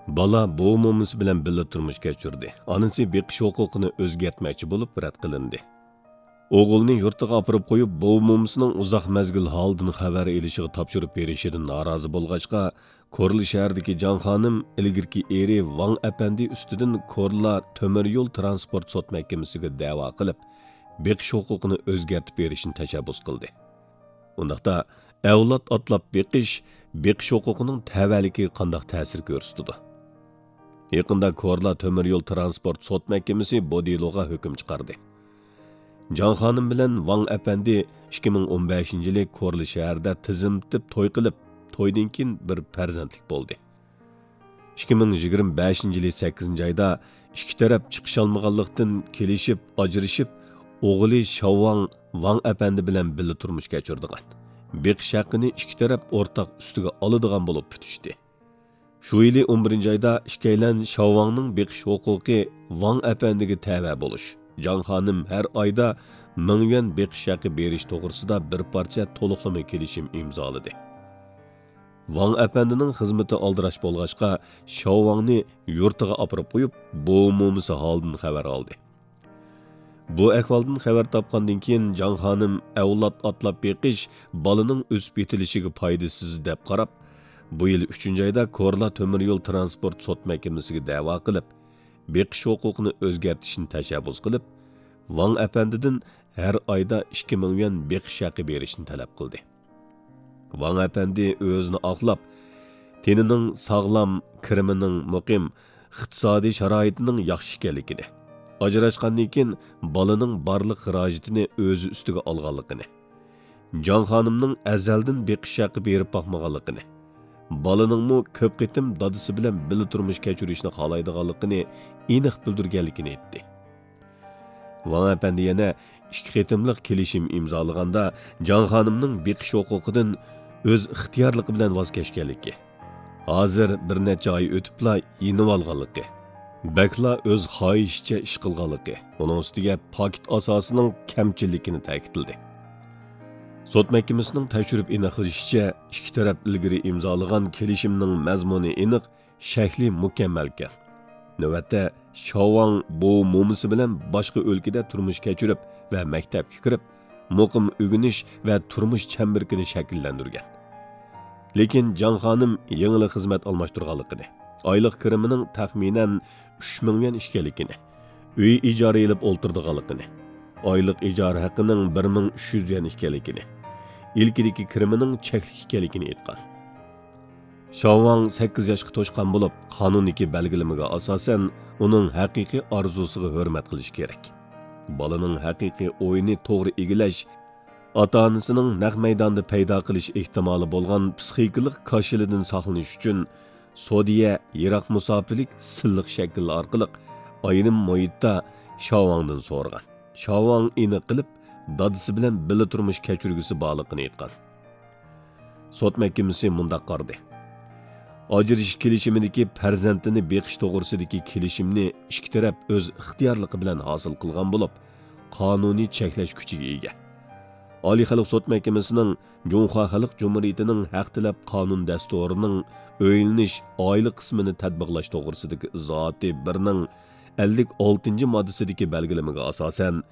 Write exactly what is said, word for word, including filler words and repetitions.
بالا بوۋا مومىسى بىلەن بىللە تۇرمۇش كەچۈردى. ئانىسى بېقىش ھوقۇقىنى ئۆزگەرتمەكچى بولۇپ رەت قىلىندى. ئوغۇلنى يۇرتىغا ئاپىرىپ قويۇپ، بوۋا مومىسىنىڭ ئۇزاق مەزگىل ھالىدىن خەۋەر ئېلىشىغا تاپشۇرۇپ بېرىشىدىن نارازى بولغاچقا، كورلا شەھىرىدىكى جاڭ خانىم ئىلگىرىكى ئېرى ۋاڭ ئەپەندى ئۈستىدىن كورلا تۆمۈر يول تىرانسپورت سوت مەھكىمىسىگە دەۋا قىلىپ، بېقىش ھوقۇقىنى ئۆزگەرتىپ بېرىشنى تەشەببۇس قىلدى. ئۇنداقتا، ئەۋلاد ئاتلاپ بېقىش، بېقىش ھوقۇقىنىڭ تەۋەلىكىگە قانداق تەسىر كۆرسىتىدۇ؟ يېقىندا كورلا تۆمۈر يول تىرانسپورت سوت مەھكىمىسى بۇ دېلوغا ھۆكۈم چىقاردى. جاڭ خانىم بىلەن ۋاڭ ئەپەندى ئىككى مىڭ ئون بەشىنچى يىلى كورلا شەھىرىدە تىزىملىتىپ توي قىلىپ، تويدىن كېيىن بىر پەرزەنتلىك بولدى. ئىككى مىڭ يىگىرمە بەشىنچى يىلى سەككىزىنچى ئايدا ئىككى تەرەپ چىقىشالمىغانلىقتىن كېلىشىپ، ئاجرىشىپ، ئوغلى شاۋۋاڭ ۋاڭ ئەپەندى بىلەن بىللە تۇرمۇش كەچۈرىدىغان، بېقىش ھەققىنى ئىككى تەرەپ ئورتاق ئۈستىگە ئالىدىغان بولۇپ پۈتۈشتى. شۇ يىلى ئون بىرىنچى ئايدا ئىككىيلەن شاۋۋاڭنىڭ بېقىش ھوقۇقى ۋاڭ ئەپەندىگە تەۋە بولۇش، جاڭ خانىم ھەر ئايدا مىڭ يۈەن بېقىش ھەققى بېرىش توغرىسىدا بىر پارچە تولۇقلىما كېلىشىم ئىمزالىدى. ۋاڭ ئەپەندىنىڭ خىزمىتى ئالدىراش بولغاچقا، شاۋۋاڭنى يۇرتىغا ئاپىرىپ قويۇپ، بوۋا مومىسى ھالىدىن خەۋەر ئالدى. بۇ ئەھۋالدىن خەۋەر تاپقاندىن كېيىن، جاڭ خانىم ئەۋلاد ئاتلاپ بېقىش بالىنىڭ ئۆسۈپ يېتىلىشىگە پايدىسىز دەپ قاراپ، بۇ يىل ئۈچىنچى ئايدا كورلا تۆمۈر يول تىرانسپورت سوت مەھكىمىسىگە دەۋا قىلىپ، بېقىش ھوقۇقىنى ئۆزگەرتىشنى تەشەببۇس قىلىپ، ۋاڭ ئەپەندىدىن ھەر ئايدا ئىككى مىڭ يۈەن بېقىش ھەققى بېرىشنى تەلەپ قىلدى. ۋاڭ ئەپەندى ئۆزىنى ئاقلاپ، تېنىنىڭ ساغلام، كىرىمىنىڭ مۇقىم، ئىقتىسادىي شارائىتىنىڭ ياخشى ئىكەنلىكىنى، ئاجراشقاندىن كېيىن بالىنىڭ بارلىق خىراجىتىنى ئۆزى ئۈستىگە ئالغانلىقىنى، جاڭ خانىمنىڭ ئەزەلدىن بېقىش ھەققى بېرىپ باقمىغانلىقىنى، بالىنىڭمۇ كۆپ قېتىم دادىسى بىلەن بىللە تۇرمۇش كەچۈرۈشنى خالايدىغانلىقىنى ئېنىق بىلدۈرگەنلىكىنى ئېيتتى. ۋاڭ ئەپەندى يەنە ئىككى قېتىملىق كېلىشىم ئىمزالىغاندا، جاڭ خانىمنىڭ بېقىش ھوقۇقىدىن ئۆز ئىختىيارلىقى بىلەن ۋاز كەچكەنلىكى، ھازىر بىر نەچچە ئاي ئۆتۈپلا يېنىۋالغانلىقى، بەكلا ئۆز خاھىشىچە ئىش قىلغانلىقى، ئۇنىڭ ئۈستىگە پاكىت ئاساسىنىڭ كەمچىللىكىنى تەكىتلىدى. سوت مەھكىمىسىنىڭ تەكشۈرۈپ ئېنىقلىشىچە، ئىككى تەرەپ ئىلگىرى ئىمزالىغان كېلىشىمنىڭ مەزمۇنى ئېنىق، شەكلى مۇكەممەلكەن. نۆۋەتتە، شاۋۋاڭ بوۋا مومىسى بىلەن باشقا ئۆلكىدە تۇرمۇش كەچۈرۈپ ۋە مەكتەپكە كىرىپ، مۇقىم ئۆگىنىش ۋە تۇرمۇش چەمبىرىكىنى شەكىللەندۈرگەن. لېكىن جاڭ خانىم يېڭىلا خىزمەت ئالماشتۇرغانلىقىنى، ئايلىق كىرىمىنىڭ تەخمىنەن ئۈچ مىڭ يۈەن ئىكەنلىكىنى، ئۆي ئىجارە ئېلىپ ئولتۇرىدىغانلىقىنى، ئايلىق ئىجارە ھەققىنىڭ بىر مىڭ ئۈچ يۈز يۈەن ئىكەنلىكىنى، ئىلكىدىكى كىرىمىنىڭ چەكلىك ئىكەنلىكىنى ئېيتقان. شاۋۋاڭ سەككىز ياشقا توشقان بولۇپ، قانۇندىكى بەلگىلىمىگە ئاساسەن، ئۇنىڭ ھەقىقىي ئارزۇسىغا ھۆرمەت قىلىش كېرەك. بالىنىڭ ھەقىقىي ئويىنى توغرا ئىگىلەش، ئاتا-ئانىسىنىڭ نەق مەيداندا پەيدا قىلىش ئېھتىمالى بولغان پسىخىكىلىق كاشىلىدىن ساقلىنىش ئۈچۈن، سودىيە يىراق مۇساپىلىك سىللىق شەكىل ئارقىلىق ئايرىم مۇھىتتا شاۋاڭدىن سورىغان. شاۋاڭ ئېنىق قىلىپ، دادىسى بىلەن بىللە تۇرمۇش كەچۈرگۈسى بارلىقىنى ئېيتقان. سوت مەھكىمىسى مۇنداق قارىدى: ئاجرىشىش كېلىشىمىدىكى پەرزەنتىنى بېقىش توغرىسىدىكى كېلىشىمنى ئىككى تەرەپ ئۆز ئىختىيارلىقى بىلەن ھاسىل قىلغان بولۇپ، قانۇنىي چەكلەش كۈچىگە ئىگە. ئالىي خەلق سوت مەھكىمىسىنىڭ جۇڭخۇا خەلق جۇمھۇرىيىتىنىڭ ھەق تەلەپ قانۇن دەستۇرىنىڭ ئۆيلىنىش ئائىلە قىسمىنى تەتبىقلاش توغرىسىدىكى ئىزاھاتى بىرنىڭ ئەللىك ئالتىنچى ماددىسىدىكى بەلگىلىمىگە ئاساسەن،